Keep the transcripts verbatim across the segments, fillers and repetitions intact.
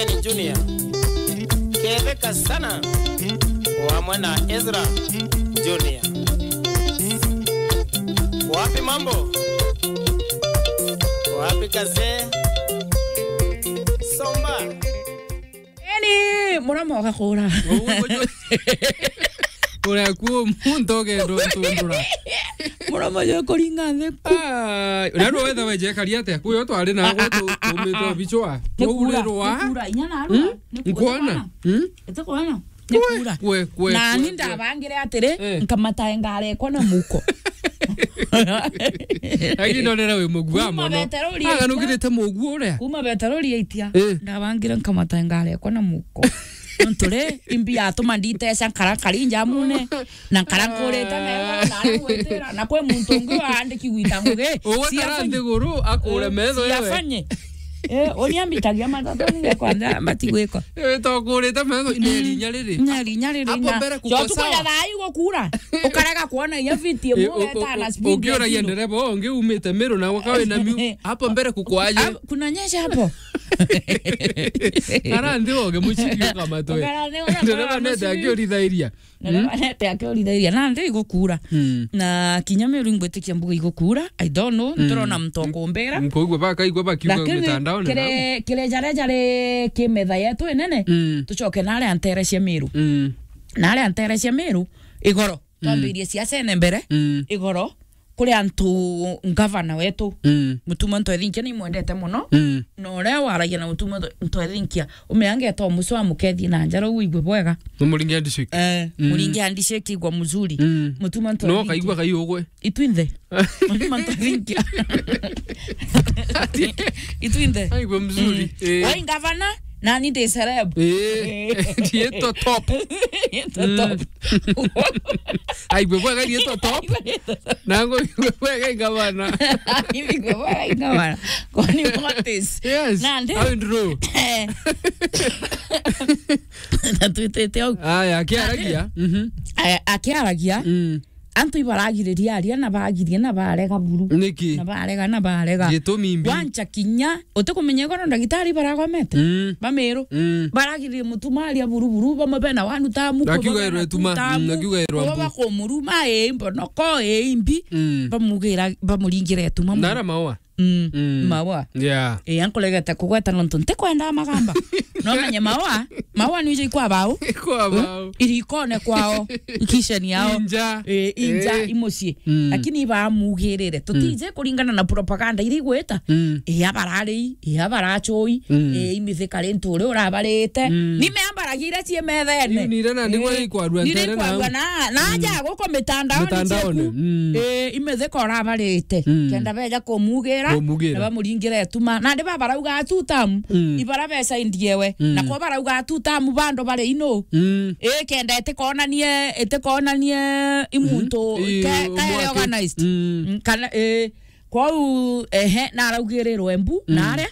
Junior. Ketheka sana. Wamwe na Ezra Junior. Wapi mambo? Wapi kaze? Somba. Eni, murama ugakura. Uria kuo muntu ugenda untundura. Murama jo kuringa nthi. Ah, na ndo wetha weje kari atia? Kuyo twari na gwe tu-, tumite bichwa. Ni kura, twaurerwa. Ni kura, inya na arua. Hmm? Ni kura. Nkuona? Hmm? Ete kuona? Ni kura. Kwe, kwe, na kwe, ni kwe. Ndabangire atiri, eh, nkamata ngarekwa na muko. Lakini ndonera wi mugua mono. Kuma betero ria itia. Aga nukirite mugua uria. Kuma betero ria itia. Eh. Ndabangire nkamata ngarekwa na muko. Nontu ri, imbi yatuma nditeca nkara nkari njamune, na nkara nkurite metho, na aria gwitira, na kwi muntu ungi waandiki gwita ngugi. Ugwe kara nthiguru akure metho yewe. Siafanye. Eh, uni ambitagia matatu ninge kwanza mbati gwikwa. Eh, tokurite metho, ina irinya riri. Ina irinya riri. Hapo mbere kuko sawa. Tukuja thaa hii gukura. Ukarega kuona iyo fiti imwe weta na speed ya ukiuragia zero. Ndereba ungi umite Meru na wakawe na miu. Hapo mbere kuko aje. Kunanyesha hapo. Ara nthi oge muciki ukamatwe. Ukara nthi oge ndereba nete muciki. Akiuritha iria. Na reba nete akiuritha iria. Na nthi igukura. Mm. Na kinya Meru ingwitikia mbuga igukura. I don't know. Mm. Nturona muntu okumbira. Nkuigua bakaigua bakiuga mitandaone. Lakini kire, kire jare jare ki metha yetu inene. Mm. Tucoke na aria ntere cia Meru. Mm. Na aria ntere cia Meru, igoro. Mm. Twambirie siasa ene mbere. Mm. Igoro. Kuri antu ngavana wetu, mm, Mutuma Ntwethinkia nimwendete mono. Mm. Na uria waragia na Mutuma Ntwe-, Ntwethinkia, umeange to muco amukethie na njara, uigue bwega. Ni Muringi handshake. Eh, mm, Muringi handshake igwa mzuri. Mm. Mutuma Ntwethinkia. No kaigua kai ugwe. Itwinthe. Mutuma Ntwethinkia. Itwinthe. Aigua mzuri. Mm. Eh. Wai ngavana, nani ndi celeb. Eh. Eh. Ndietwa top. Ndietwa top. Mm. Aigwe bwega ndietwa top. Nango igwe bwega ingavana. Igwe bwega ingavana. Kwani what is? Yes. Nandi? How in row? Eh. Na twitite au. Aya, akiaragia. Nandi? Mhm. Aya, akiaragia. Mm. Antu ibaragiriria aria na bagirie na barega buru. Niki? Na barega, na barega. Gitumi mbi. Wancha kinya, utikumenya igoro ndagitari baragomete? Mm. Bamiru. Mm. Baragiririe Mutuma aria buru buru, bamwe bena wanu tamu, akiuga kuba erwe bena tuma, tamu, mm, akiuga erwe kuba mbu. Bakumuruma, ii, mbonoko, ii, mbi. Mm. Bamugira, bamuringire ituma. Nara maua. Mm, mm. Maua. Yeah. Eh, ankuregete kugweta nontu ntikwenda magamba. No menye maua, maua ni ije ikwa bau. Ikwa bau. Irikone kwao, ikisheni yao. Inja. Eh, inja, eh, imucii. Mm. Lakini ibamugirire. Tutije, mm, kuringana na propaganda iria igwita. Mm. Eh, abarari, eh, abarachui, mm, eh, imithika rintu uri urabarite. Mm. Ni meambaragia iria cii methene. Iu ni iria nandi gwe ikwarua ntere na, na, na aja guko mitandaoni. Mitandaoni, cieku. Mm. Eh, imithika urabarite. Mm. Kenda beja kumugira, kumugira, na bamuringire ituma. Nandi babarauga two term, mm, ibara beca indiewe. Mm. Na kwa barauga two term bando bari ino. Mm. Ii, kenda itikonanie, itikonanie i muntu, mm, ke-, kaere organized. Mm. Mm, kana, ii, kwou, ehe, naraugirirwe mbu, mm, naria.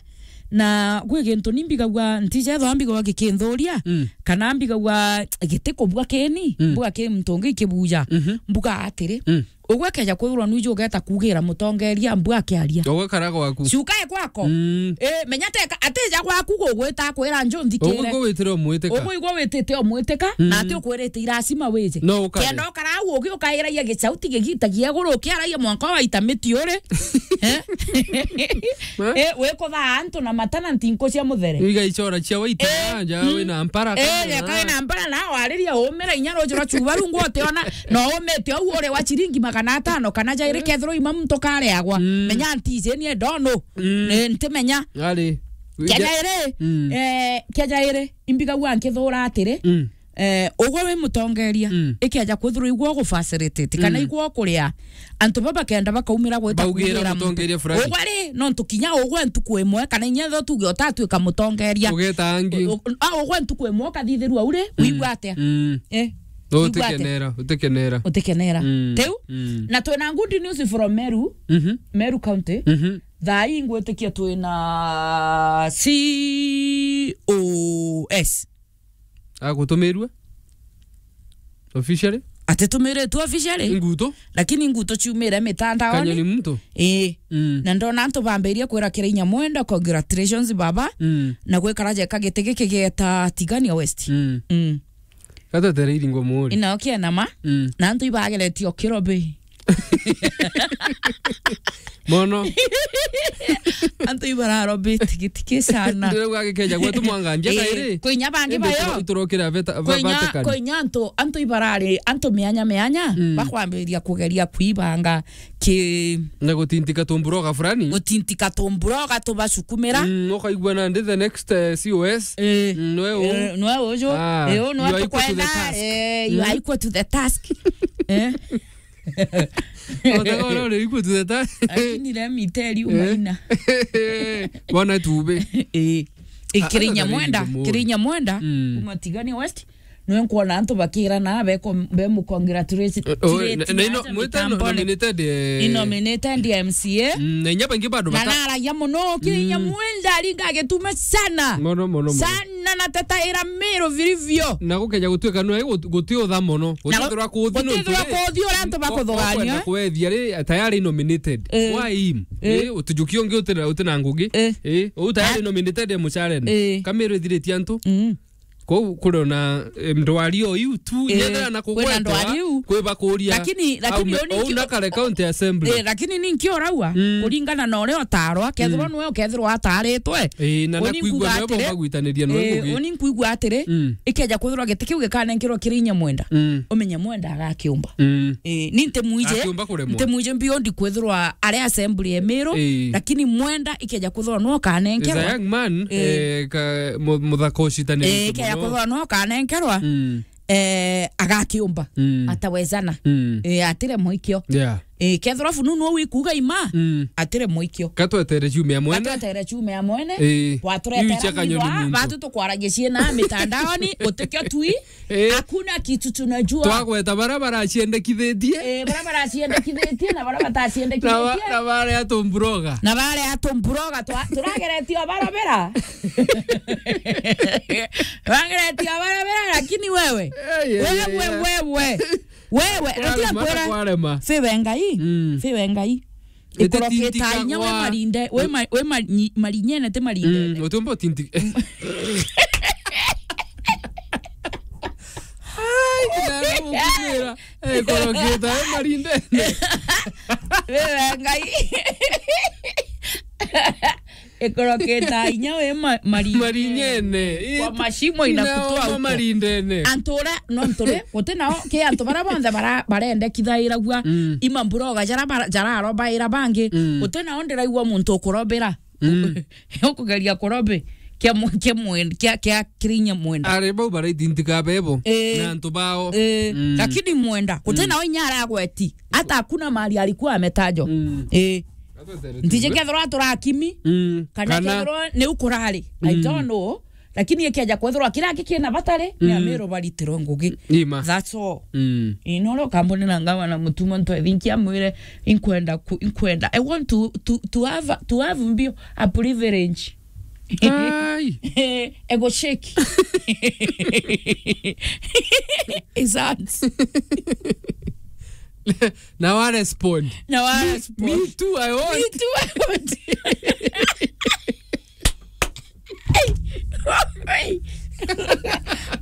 Na gwi gintu ni mbigagua, ntijethwa mbigagua gikinthuria, mm, kana mbigagua gitikubua kini, mm, mbuga ki muntu ungi ikibuja. Mhm. Mbuga atiri, mm. Ugwe keja kwithirwa nwiji ugeta kugira mutongeria mbu akiaria. Ugwe kara gwaku. Cukae gwako. Mm. Eh, menya teka, atija gwaku gugwita akwira njo nthikire. Ugwe igwe witire umwitika. Ugwe igwe witite umwitika, mm, na ati ukwirite iracima wije. No ukare. Kenda ukara au ugi ukairagia gicauti gigitagia iguru ukiaragia mwanka waita miti uri. Eh? Eh? Eh, wikuthaa antu na matana ntinku cia muthere. Igaichora cia waita, eh, nja, mm, wina mpara, eh, kana wina mpara na wariria umira inya ruji rwa chuba rungu utiona. No umite au uri wa chiringi magana atano kana jairi, kethirwa ima muntu kareagwa. Mm. Menya ntiji nie ndono. Mm. Eh, ntimenya. Ari. Kia jairi, mm, eh, kia jairi, imbigagua nkithura atiri, mm, eh, ugwe wi mutongeria, mm, ikeja kwithirwa igwe ugu facilitate, kana, mm, igwe ukuria, antu baba kenda bakaumira gwita baugire kugira mutongeria fulani. Ugwe ri, nontu kinya ugwe ntuku imwe, kana inya tho tuge utatwika mutongeria. Ugeta angi. U-, u-, a, ugwe ntuku imwe ukathithirua uri, mm, wigua atia? Mm. Eh. Wigua atia? Utikenera, utikenera. Utikenera. Mm. Tiu? Mm. Na twina good news from Meru, mhm, Meru County. Mhm. Thaa ii ngwitikia twina C O S. Agutumirue? Officially? Atitumiritwe officially. Nguto. Lakini nguto ciumire mitandaoni. Kanyoni mtu. Ii. Mm. Na ndona antu bambirie kwira Kirainya Mwenda, "Congratulations baba." Mm. Na gwikara jeka giti giki gieta Tigania West. Mm. Mm. Gatetere iringo muri. Ina okia nama. Mm. Na antu ibageretie o kirobi. Mono. Antu ibararobi tigitiki sana. Ndirauga gikeja gwetu mwangandia. Eh, kairi. Kwinya bangi. Indi bayo. Turokira beta, ba-, kwinya, Vatican. Kwinya antu, antu ibarari, antu mianya mianya, mm, bakwambiriria kugeria kuibanga ki- Na gutintika tumburoga fulani. Gutintika tumburoga tubacukumira. Mm, ukaigua nandi the next, eh, C O S. Eh. Mm, nwe u. Eh, nwe uju. Ah, eh, u nwe you are equal to the tukwenda, task. Eh, you are equal to the task. Eh. Otaka ora uri equal to the task. Lakini let me tell you, eh, Maina. Bona tube. Eh. Ah, Kirainya Mwenda, Kirainya Mwenda, mm, kuma Tigania West. Nwe nkwona antu bakirana, beko-, be mu congratulate, oh, na, na ino, mwita nominated, eh. I nominated M C A. Mm, na inya bangi bado. Na bata- naragia muno, Kirainya, mm, Mwenda aringa agituma sana. Mono, mono, mono. Sana na tata ira Miru vilivyo. Na gukeja gutuika nwe gut-, guti utha mono. Na gutithirwa kuthi no gutithirwa kuthi uria antu bakuthuganio, kwenda kwethia ri, tayari nominated. Eh. Why him? Eh. Eh, utijuki ungi utina, utina ngugi. Eh. Eh, u tayari nominated e mucarene. Eh. Kamiru ithiritie antu. Mm. Kou kuri ona, eh, ndwari o iu tu, eh, inyethira na kwina kugwetwa, ndwari iu. Kwi bakuria. Lakini, lakini aume, uni au ki-, na kare county assembly. Eh, lakini ni nki uraua? Mm. Kuringana na uria utarwa, kethirwa, mm, nwe ukethirwa ataritwe. Eh, na uni nakuigua nkuga nwe atiri, bogwitaniria nwe, eh, ngugi. Uni nkuigua atiri, mm, ikeja kwithirwa giti kiu gikanenkerwa Kirainya Mwenda. Mm. Umenye Mwenda agakiumba. Mm. Eh, ni ntimwije, akiumba kuremwa. Ntimwije beyond kwithirwa ari assembly ya Miru, eh, lakini Mwenda ikeja kwithirwa nwe ukanenkerwa. Is a young man, eh, eh, ka-, mu-, muthaka ucitanirite, eh, ikeja muno. Kwithirwa nwe ukanenkerwa, mm, eh, agakiumba. Mm. Atawezana. Mm. Eh, atire muikio. Yeah. Eh, kethirwa fununu wikuga ima, mm, atire muikio. Katwetere ciumia mwene. Katwetere ciumia mwene. Eh. Waturetera iu cia Kanyoni muntu. Batu tukwaragia ciina mitandaoni, utikio tui. Eh. Hakuna kitu tunajua. Twagweta bara baraciendekithitie. Eh, bara baraciendekithitie na bara bataciendekithitie. Na ba-, na baria tumburoga. Na baria tumburoga twa-, turageretie barabara. Turageretie barabara, lakini wewe. Ei, ei, wewe, ei, ei. Wewe. Wewe, kwarema, atia kwira. Kwarema. Fiwe Ngai. Mm. Fiwe Ngai. Ikoroketa inya we marinde, we ma-, we ma-, nyi-, marinyene ti marinde. Mm, utumba utinti. Ai, kina na mukumira. Eh, koroketa, eh, marindene. Wewe, Ngai. Ikoroketa inya we ma-, marinyene. Marinyene. Kwa mashimo inakutoa huko. Marindene. Antu ura, no ntu ri, guti nao, ki antu bara bonthe bara-, barendekithairagua, mm, ima mburoga jara bara-, jararobaira bangi. Mm. Guti nao ndiraigua muntu ukurobira. Mm. Ukugeria kurobe kia mu-, kia mwen-, kia, kia Kirinya Mwenda. Ari bau baraitintika bebo, eh, na antu bao. Eh, mm, lakini Mwenda, guti, mm, nao inya aragweti. Hata hakuna mahali alikuwa ametajwa. Mm. Eh. Ntiji kethirwa turakimi, mm, kana, kana kethirwa ni ukurari. I, mm, don't know. Lakini ikeja kwethirwa kira kikina batari, ni, mm, Amiru baritirwe ngugi. Ima. That's all. Mm. Ino ro kambuni na ngavana Mutuma ntwethinkia mwire, inkwenda ku-, inkwenda. I want to, to, to have, to have mbio a privilege. Ai. Ego shake. Is that? Na wa respond. Na wa respond. Me too, I want. Me too, I want.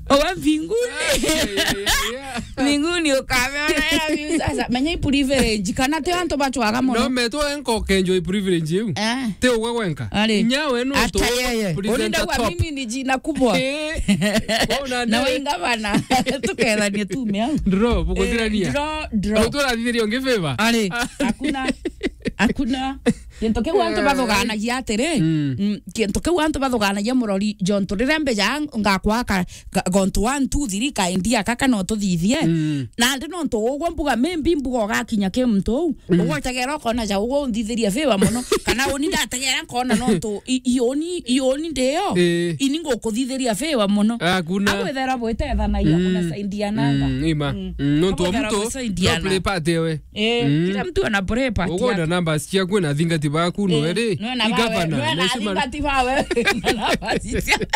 Owa mbinguni. Yeah, yeah, yeah, yeah. Mbinguni ukameona ya view sasa. Menya i privilege. Kana ti antu bachwaga mono. No, meto enko kenjo i privilege iu. Eh. Ti ugwe gwenka. Ari. Inya we no. Ata yeye. Presenter. Uninda wa top. Mimi ni jina kubwa. Eh. Wewe una na ndio. Wainga bana. Tukethanie tume au. Draw, bukuthirania. Eh, draw, draw. Au turathithiria ungi favor. Ari. Hakuna. Hakuna. Kintu kiu antu, ai, bathuganagia atiri, mm, mm, kintu kiu antu bathuganagia murori, jontu riria mbija ngakwa ka, ka, gontu one, two, three, ka idea kaka no tuthithie. Mm. Nandi nontu ugwe mbuga, maybe mbuga ugakinya ki muntu uu, mm, ugwe utegera ukona ja ugwe unthithirie favor mono, kana uni ndategera nkona nontu i, i uni, i uni ndiyo, eh, ini ngukuthithiria favor mono. Hakuna. Agwithera bwitethanagia, mm, kunasaidiananga. Mm, ima. Mm. Mm, nontu o muntu no play part ewe. Eh, mm, kila mtu ana play part yake. Ugonda numbers ciaku na athingati baku, eh, no eri, no na i bawe, governor, no na mheshimiwa athingati bawe. Na numbers cia-,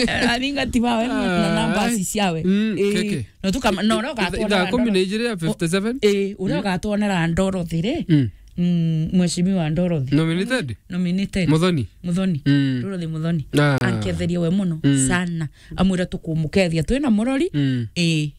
Aringa ti bawe na, na namba ciawe. Mm, eh, keke. No tukama, no, no, itha-, ithaa kumi na ijiri ya fifty-seven? Eh, uria ugatwonera Dorothy ri. Mm. Mm, Mheshimiwa Dorothy. Nominated? Nominated. Muthoni? Muthoni. Mm. Dorothy Muthoni. Ah. Anketherie we muno, mm, sana. Amwira tukumukethia twina murori. Mm. Eh,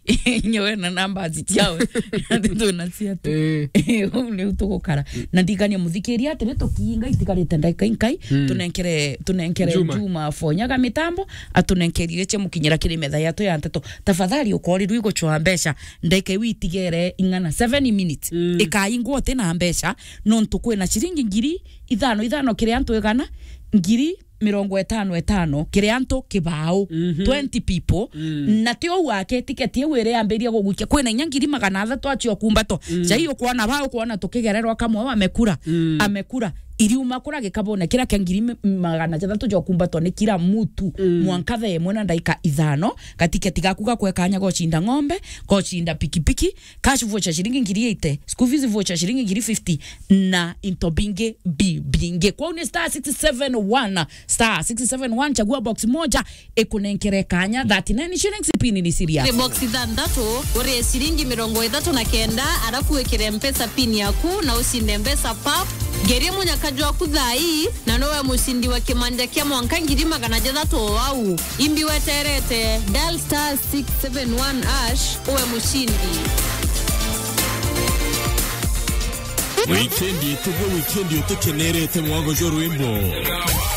nyewe na namba ciawe. Ati twina cia tu. Eh. Eh, uu niu tugukara. Na ndigania muthikiria atiri tukiinga itigarite ndagika inkai. Mm. Tunenkere, tunenkere Juma. Juma Fonyaga mitambo, atunenkerie cia mukinyira kiri metha yatu ya nteto. Tafadhali ukorirwe iguchwa mbeca. Ndagika iu itigere ing'ana, seven minutes. Mm. Ikaingwa uti na mbeca, nontu kwina ciringi ngiri ithano ithano kiri antu igana, ngiri mirongo itano itano kiri antu kibao, mhm, twenty people. Mm. Na ti uu ake, tiketi iu iri yambiria gugukia, kwina inya ngiri magana athatu acio kumbatwa. Mm. Jai ukwona ba, ukwona tukigererwa kamwe, amekura, mm, amekura. Iriuma kura gikabone kiria kia ngiri mi-, magana jathatu ja kumbatwa ni kila mutu, mm, mwanka thaa imwe na ndaika ithano, gatiketi gaku gakwe kanya gocinda ng'ombe, gocinda pikipiki, cash voucher ciringi ngiri eighty, school fees voucher ciringi ngiri fifty, na into bingi bi-, bingi. Kwou ni star six seven one, star six seven one, chagua box moja, ikunenkere kanya, thirty-nine shillings, pin ni serious. Ni box ithanthatu, urie ciringi mirongo ithatu na kenda, arafu wikire Mpesa pin yaku na ucinde mbeca pap. Ngerie munyaka jwaku thaa ii, na nowe mucindi wa kimanja kia mwanka ngiri magana jathatu o au. Imbi weterete, dial star six seven one hash, uwe mucindi. Wikendi ituge wikendi utukenerete mwago jwa rwimbo.